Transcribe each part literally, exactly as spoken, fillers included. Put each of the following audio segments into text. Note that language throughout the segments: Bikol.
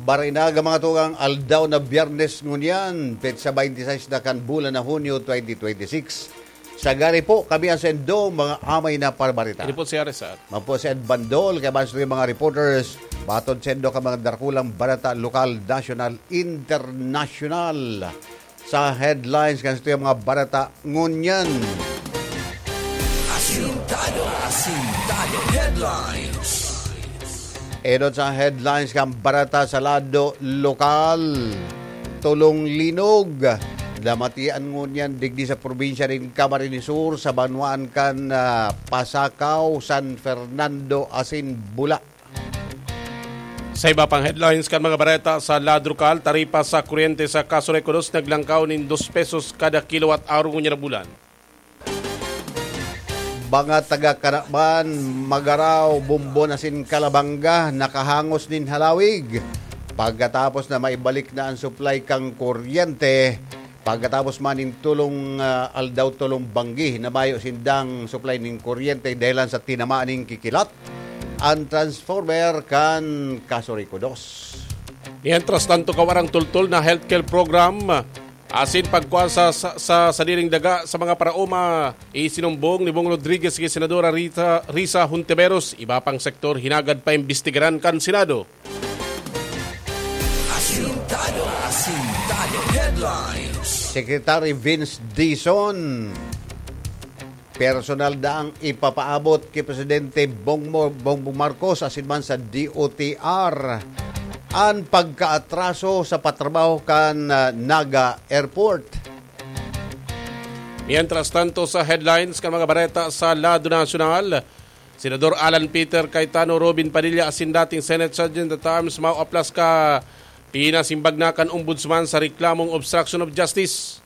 Barinaga, mga tugang, aldaw na Biyernes ngunyan, petsa twenty-six na kan bulan na Hunyo twenty twenty-six. Sa gari po, kami ang sendo, mga amay na parbarita. Ini po si Arisat. Mapo si Ed Bandol, kaya basta yung mga reporters, batod sendo ka mga darakulang barata, lokal, nasyonal, internasyonal. Sa headlines, kan sa mga barata, ngunyan. Asintado, asintado, headlines. Enot sa headlines kan barata sa lado lokal. Tulong linog. Namatian ngunyan digdi sa probinsya nin Camarines Sur sa banwaan kan, ah, Pasacao, San Fernando asin Bula. Sa iba pang headlines kan mga bareta sa lado lokal, taripa sa kuryente sa Casureco dos naglangkaw nin dos pesos kada kilowatt hour ngunyan na bulan. Mga taga Kanaban, Magarao, Bombon asin Calabanga nakahangos nin halawig pagkatapos na maibalik na an supply kan kuryente. Pagkatapos man nin tulong, ah, aldaw, tulong banggi na mayo sindang supply nin kuryente dahilan sa tinamaan nin kikilat an transformer kan Casureco dos. Mientras tanto, kawarang tultol na healthcare program asin pagkuha sa, sa, sa sadiring daga sa mga paraoma, isinumbong ni Bong Rodriguez kay Senadora Rita, Risa Hontiveros. Iba pang sektor, hinagad paimbestigaran kan Senado. Asintado, asintado, headlines. Secretary Vince Dizon, personal daang ipapaabot ki Presidente Bong Mo-, Bongbong Marcos asin man sa D O T R an pagkaatraso sa patrabaho kan, ah, Naga Airport. Mientras tanto, sa headlines kan mga bareta sa lado nasyonal, Senador Alan Peter Cayetano, Robin Padilla asin dating Senate Sergeant at Arms maoaplas ka pinasimbag na kan Ombudsman sa reklamong obstruction of justice.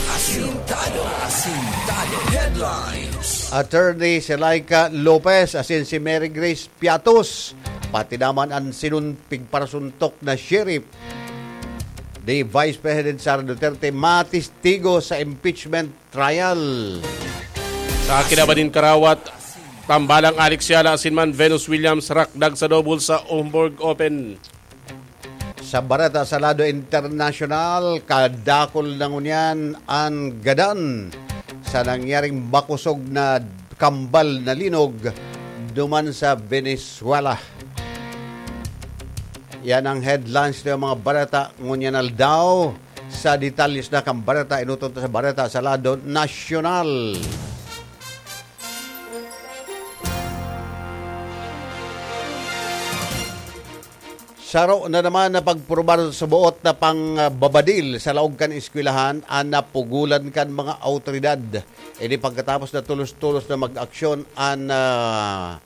Asintado, asintado, headlines. Attorney Selaika Lopez asin si Mary Grace Piatos, pati naman an sinun-, pigparasuntok na sheriff ni Vice President Sara Duterte, matistigo sa impeachment trial. Sa kinaban nin karawat, tambalang Alex Yala asin man Venus Williams rakdag sa double sa Hamburg Open. Sa bareta sa lado internasyonal, kadakul na ngunyan an gadan sa nangyaring makusog na kambal na linog duman sa Venezuela. Yan ang headlines ng mga bareta ngunyan aldaw. Sa detalles na kan bareta, inutot sa bareta sa lado nasyonal. Saro na naman na pagpurbar sa buot na pangbabadil sa laog kan eskwelahan an napugulan kan mga awtoridad. Ini pagkatapos na tolos-tolos na mag-aksyon an, ah,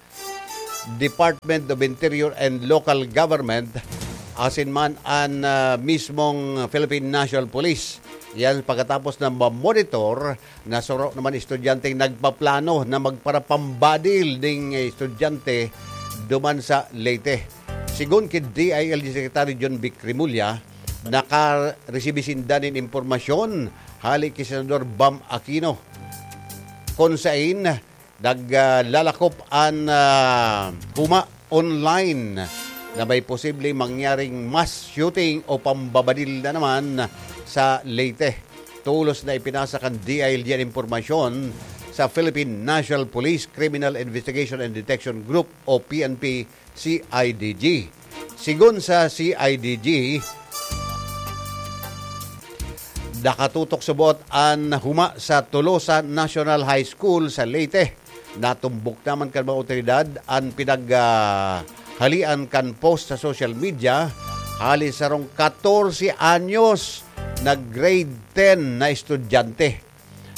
Department of Interior and Local Government, asin man an, ah, mismong Philippine National Police. Yan pagkatapos na ma-monitor na saro naman estudyanteng nagpaplano na magparapambadil ning estudyante duman sa Leyte. Sigon ki D I L G Secretary John Vic Remulla, nakaresibi sinda nin impormasyon hali ki Senador Bam Aquino, kun sain naglalakop an, ah, huma online na may posibleng mangyaring mass shooting o pambabadil na naman sa Leyte. Tolos na ipinasa kan D I L G an impormasyon sa Philippine National Police Criminal Investigation and Detection Group o P N P C I D G. Sigon sa C I D G, nakatutok sa buot an huma sa Tolosa National High School sa Leyte. Natumbok naman kan mga awtoridad an pinag, ah, halian kan post sa social media hali sarong katorse anyos na grade ten na estudyante.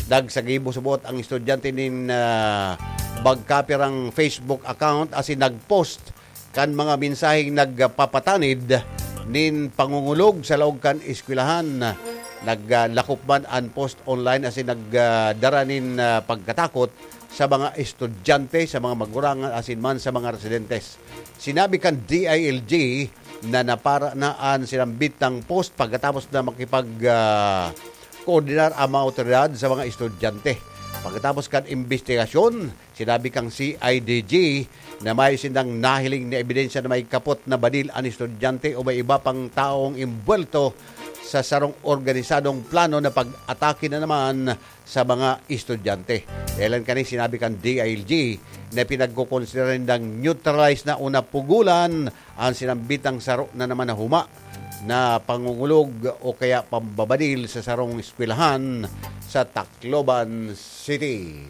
Nagsagibo sa buot ang estudyante nin, ah, magkapirang Facebook account asin nag-post kan mga mensaheng nagpapatanid nin pangungulog sa laog kan eskwelahan. Naglakop man an post online asin nagdara nin, ah, pagkatakot sa mga estudyante, sa mga magurangan asin man sa mga residentes. Sinabi kan D I L G na napara na an sinambitang post pagkatapos na makipag, ah, koordinar ang mga awtoridad sa mga estudyante. Pagkatapos kan imbestigasyon, sinabi kan C I D G na mayo sindang nahiling na ebidensya na may kapot na badil an estudyante o may iba pang taong imbwelto sa sarong organisadong plano na pag-atake na naman sa mga estudyante. Dahilan kani, sinabi kan D I L G na pinagkukonsidera nindang neutralize na o napugulan an sinambitang saro na naman na huma na pangungulog o kaya pambabadil sa sarong eskwelahan sa Tacloban City.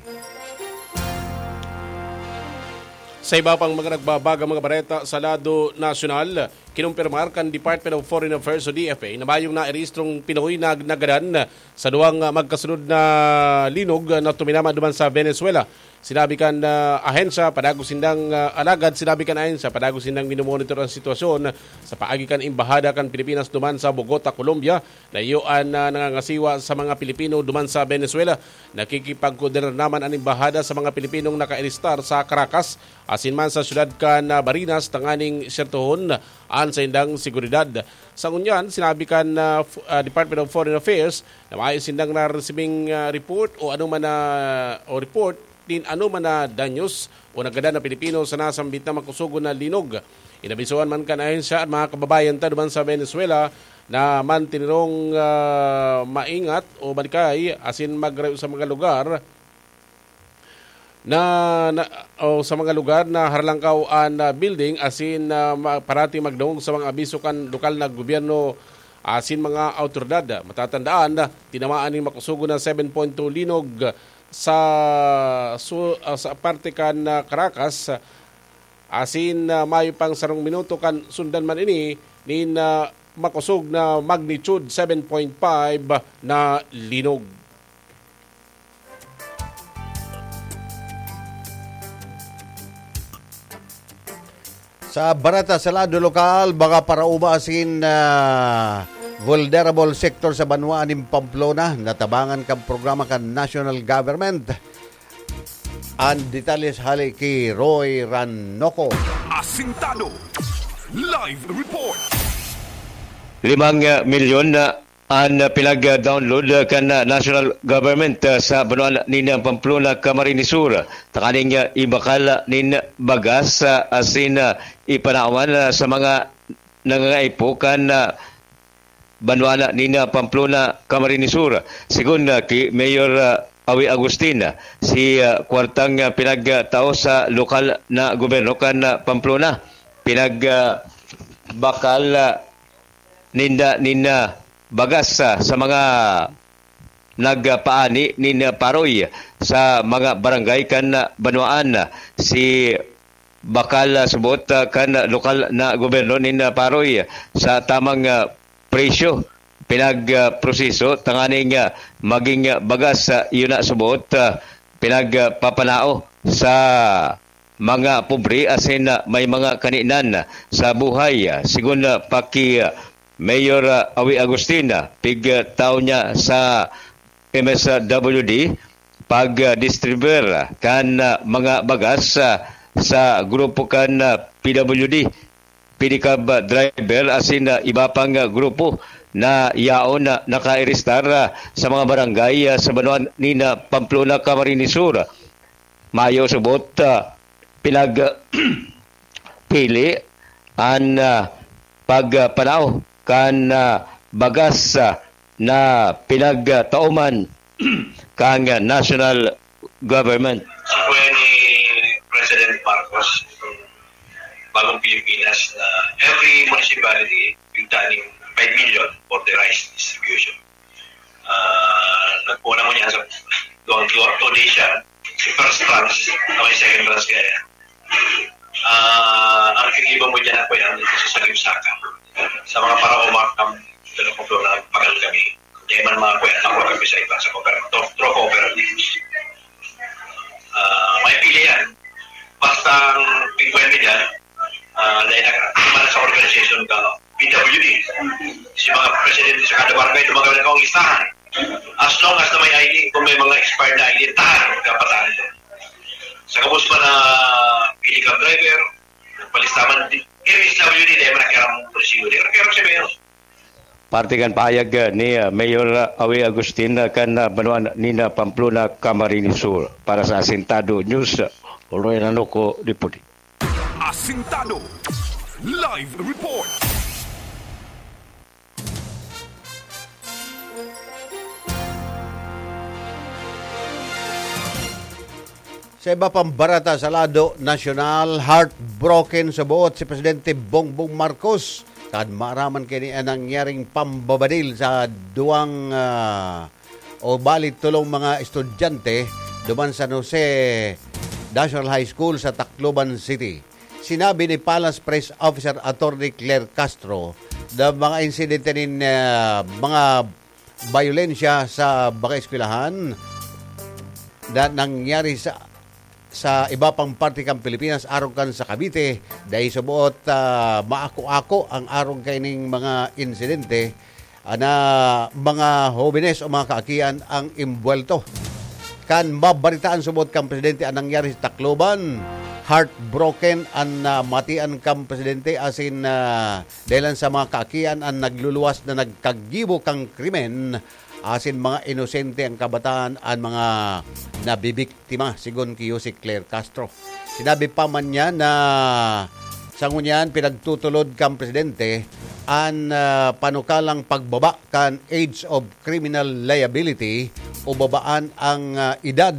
Sa iba pang mga nagbabagang mga bareta sa lado nasyonal, kinumpirmar kan Department of Foreign Affairs o D F A na mayong nairehistrong Pinoy na nagadan sa duwang, ah, magkasunod na linog, ah, na tuminama duman sa Venezuela. Sinabi kan, ah, ahensya, padagos sindang, ah, alagad, sinabi kan ahensya, padagos sindang minomonitor ang sitwasyon sa paagi kan Embahada kan Pilipinas duman sa Bogota, Colombia, na iyo an, ah, nangangasiwa sa mga Pilipino duman sa Venezuela. Nakikipagkoordinar naman an Embahada sa mga Pilipinong nakaarestar sa Caracas, asin man sa siyudad kan, ah, Barinas, tanganing sertohon an saindang seguridad. Sa ngunyan, sinabi kan, ah, f-, ah, Department of Foreign Affairs na mayo sindang naresibing, ah, report o ano man na, o report nin ano man na danyos o nagadan na Pilipino sa nasambit na makusugon na linog. Inabisuhan man kan ahensya an mga kababayan ta duman sa Venezuela na mantinirong, ah, maingat o malikay asin magrayo sa mga lugar na, na, o sa mga lugar na haralangkaw an, ah, building asin, ah, ma-, parati magdangog sa mga abiso kan lokal na gobyerno asin mga awtoridad. Matatandaan, tinamaan nin makusugon na seven point two linog sa, su-, ah, sa parte kan, ah, Caracas, asin, ah, mayo pang sarong minuto kan sundan man ini nin, ah, makosog na magnitude seven point five na linog. Sa bareta sa lado lokal, mga paraoma asin, ah, vulnerable sector sa banwaan nin Pamplona, natabangan kan programa kan national government. An detalles hali ki Roy Ranoco. Asintado. Live report. Limang, ah, milyon na an, ah, pinag-download, ah, kan, ah, national government, ah, sa banwaan nin, ah, Pamplona, Camarines Sur, tanganing, ah, ibakal nin bagas, ah, asin, ah, ipanawan, ah, sa mga nangangaipo kan, ah, banwaan nin, ah, Pamplona, Camarines Sur. Sigon, ah, ki Mayor, ah, Awi Agustin, ah, si, ah, kwartang, ah, pinagtao sa lokal na gobyerno kan, ah, Pamplona, pinag, ah, bakal, ah, ninda nin, ah, bagas, ah, sa mga nagpaani nin, ah, paroy sa mga barangay kan, ah, banwaan. Si bakal, ah, subot, ah, kan lokal na gobyerno nin, ah, paroy sa tamang, ah, presyo pinag, ah, proseso tanganing, ah, maging, ah, bagas, ah, iyo na subot, ah, pinagpapanao sa mga pobre asin, ah, may mga kaninan sa buhay. Sigon, ah, pa ki, ah, Mayor, ah, Awi Agustin, ah, pigtaw niya sa M S W D pag, ah, distribuer kan, ah, mga bagas, ah, sa grupo kan, ah, P W D, pedicab driver asin, ah, iba pang, ah, grupo na yaon na nakaarestar, ah, sa mga barangay, ah, sa banwaan nin, ah, Pamplona, Camarines Sur. Mayo subot, ah, pinag, pili an, ah, pagpanaw kan, ah, bagas, ah, na pinagtaoman kan, ah, national government. When ni President Marcos, bagong Pilipinas, na every municipality, yung taning five million for the rice distribution. Ah, nagpuna mo niya sa duwang, duwang, two days siya, si first tranche, na may second tranche kaya. Ah, ang kiniba mo dyan ako yan, ito sa Salim Saka. Sa mga para umakam, ito na kung doon, pagal kami. Kaya man mga kuya, ako kami sa iba, sa cooperative, through cooperatives. Ah, may pili yan. Basta ang pigwen mo dyan, ah, dahil nag-, para sa organization ka, P W D. Si mga presidente sa kada barangay, dumagal na kaong listahan. As long as na may I D, kung may mga expired na I D, tahan, kapatahan ito. Sa kabus pa na pili kang driver, palistaman, di, M S W D, dahil man ang kiram munisipyo, di, kiram si Mayor. Parte kan pahayag, ah, ni, ah, Mayor, ah, Awi Agustin, ah, kan, ah, banwaan nin, ah, Pamplona, Camarines Sur. Para sa Asintado News, ah, Roy Nanuko, Deputy. Sintado. Live report. Sa iba pang bareta sa lado nasyonal, heartbroken sa buot si Presidente Bongbong Marcos kan maaraman kini an nangyaring pambabadil sa duwang, ah, o bali tulong mga estudyante duman San Jose National High School sa Tacloban City. Sinabi ni Palace Press Officer Attorney Claire Castro na mga insidente nin, ah, mga bayolensya sa mga eskwelahan na nangyari sa, sa iba pang parte kan Pilipinas, arog kan sa Cavite, dai suboot, ah, maako-ako ang arog kaining mga insidente, ah, na mga hobenes o mga kaakian ang imbuwelto. Kan mabaritaan suboot kan presidente ang nangyari sa Tacloban, heartbroken an, ah, matian kan presidente asin, ah, dahilan sa mga kaakian an nagluluwas na nagkagibo kan krimen asin mga inosente ang kabataan an mga nabibiktima, sigon ki Yusek Claire Castro. Sinabi pa man niya na sa ngunyan pinagtutulod kan presidente an, ah, panukalang pagbaba kan age of criminal liability o babaan ang, ah, edad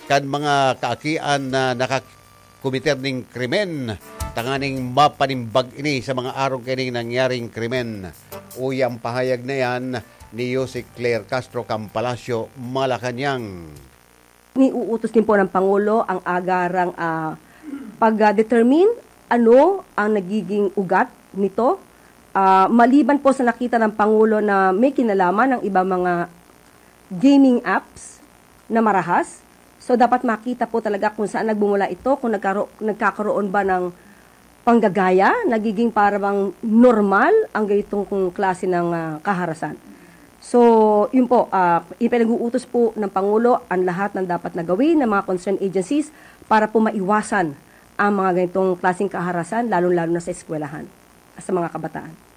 kan mga kaakian na nakakomiter nin krimen, tanganing mapanimbag ini sa mga arog kaining nangyaring krimen. Uya ang pahayag na yan ni Yusek Claire Castro kan Palasyo, Malacañang. Niuutos din po ng Pangulo ang agarang, ah, pag-determine ano ang nagiging ugat nito. Ah, maliban po sa nakita ng Pangulo na may kinalaman ang iba mga gaming apps na marahas, so dapat makita po talaga kung saan nagmumula ito, kung nagkaro-, nagkakaroon ba ng panggagaya, nagiging para bang normal ang ganitong klase ng, ah, kaharasan. So, yun po, ah, ipinag-uutos po ng Pangulo ang lahat ng dapat na gawin ng mga concerned agencies para po maiwasan ang mga ganitong klaseng kaharasan, lalong-lalo na sa eskwelahan, sa mga kabataan.